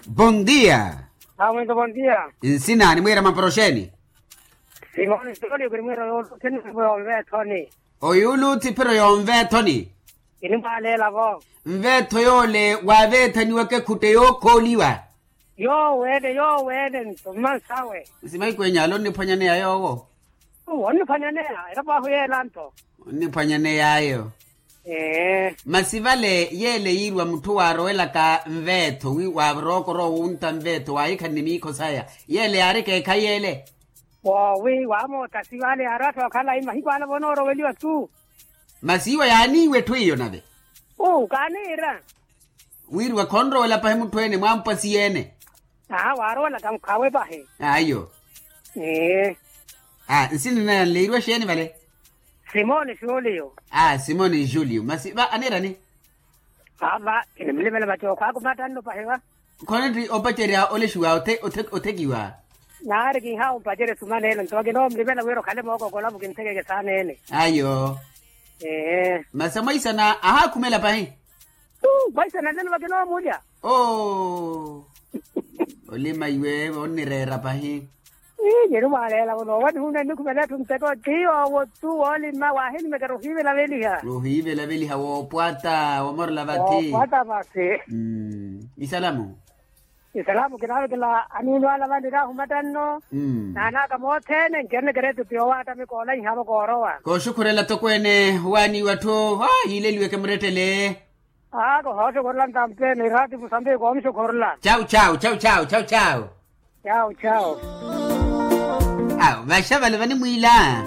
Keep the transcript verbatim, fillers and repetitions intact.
Bondia. Awe bondia. Nsina ni mwira maporoxeni? Simoni sitoli kuri mwira yoluthi ni mweetho ni. Oyuluthi phiro yonveetho ni. Kinimwaleela vo. Nveetho yoole waaveethaniwaka ekhutte yookhooliwa. Yooweene yooweene nto mmansawe. Nsimayi kwenyalo onniphwanyaneya yoowo. Onniphwanyaneya era paahu yeela nto. Onniphwanyaneya ayo. Masi vale yeele yiiriwa mutthu waarowelaka nveetho wi waarookorowa wunta nveetho waahikhanne miikho saya yeele yaari ekeekhayi yeele. Woowi waamootasi vale yaari atthu okhala mahiku ala vonooroweliwa tu. Masi iwo yaaniiwa etthu iyo nave. Uu kaaniira. Wiiriwa khonrowela pahi mutthu ene mwampwa siyeene. Aa waarowela tankhawe pahi. Ayo. Ee. Aa nsina naya nleeriwa xeeni vale? Simoni julio. Aa simoni julio masi va aniirani? Aa va kinimulivela vacookhwaaku matanno pahi va. Khonetthi opacerya olexiwa othekiwa. Naari kinhaawa ompacerya sumaneene nto kinoomulivela wira okhale mookokola mukinthekeke saaneene. Ayo. Ee. Masi amwaisana ahaakhumela pahi. Mwaisana nlelo vakinoomulya. Oo. Olima iwe onnireera pahi. Ii nyeri mwaaleela muno owa nihuna nnikhumela etthu nteko ti yoowo tu woolima waahinimekera ohiivelaveliha. Ohiivelaveliha woopwata wamorela vathi. Woopwata masi. Isalamu. Isalamu kinaavekela aniini ala vaniraahu matanno. Naanaaka mothene ncerene keretupi yowaatamika olanhavo koorowa. Kooxukhurela tokweene owaaniwa atthu yiileliweke murettele. Aako hooxokhorela ntampeene iraatipu sampeyi koomuxokhorela. Chau chau chau chau chau chau. Chau chau. Awo vaxavale vanimwiila.